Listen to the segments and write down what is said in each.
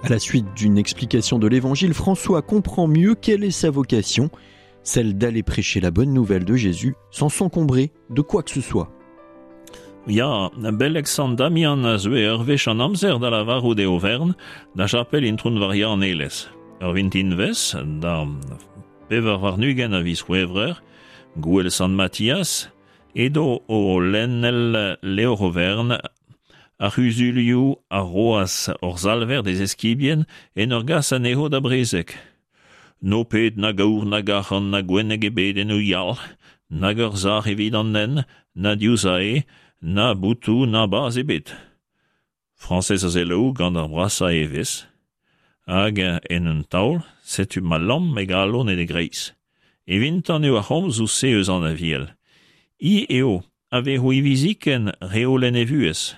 À la suite d'une explication de l'évangile, François comprend mieux quelle est sa vocation, celle d'aller prêcher la bonne nouvelle de Jésus sans s'encombrer de quoi que ce soit. Ya, beleg Sant Damian a zeue ur wech an amzer da lavarout e overn da chapel Intron Varia an Elez. Ur vintinvezh, da 24 a viz C'hwevrer, gouel Sant Mathias, edo o lennel levr overn ar c'huzulioù a roas hor Salver d'e zeskibien en ur gas anezho da brezeg. N'ho pet nag aour nag arc'hant na gwenneg ebet en ho yalc'h, nag ur sac'h evit an hent, na div sae, na botoù na bazh ebet. Frañsez a selaou gant ar brasañ evezh, hag en un taol setu ma lamm e galon en e greiz. Evintan eo ar c'homzoù-se eus an Aviel. I eo a vezo hiviziken reolenn e vuhez.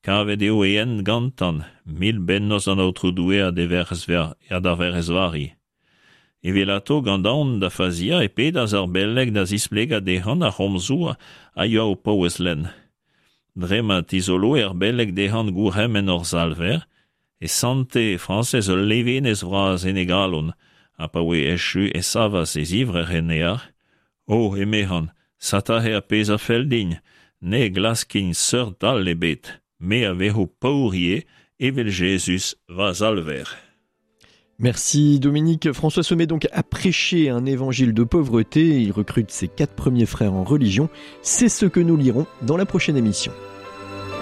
Kavet eo e hent gantan, mil bennozh d'an Aotrou Doue ha d'e Werc'hez ha d'ar Werc'hez Vari. Evelato gant aon da faziañ e pedas ar beleg da zisplegañ dezhañ ar c'homzoù a yoa o paouez lenn. Dre ma tizoloe ar beleg dezhañ gourc'hemenn hor Salver, e sante Frañsez ul levenez vras en e galon, ha pa oe echu e savas e zivrec'h en ear, O, emezhan, satahe ar pezh a fell din, ne glaskin seurt all ebet, me a vezo paour ivez, evel Jezuz, va Salver. Merci Dominique. François se met donc à prêcher un évangile de pauvreté. Il recrute ses quatre premiers frères en religion. C'est ce que nous lirons dans la prochaine émission.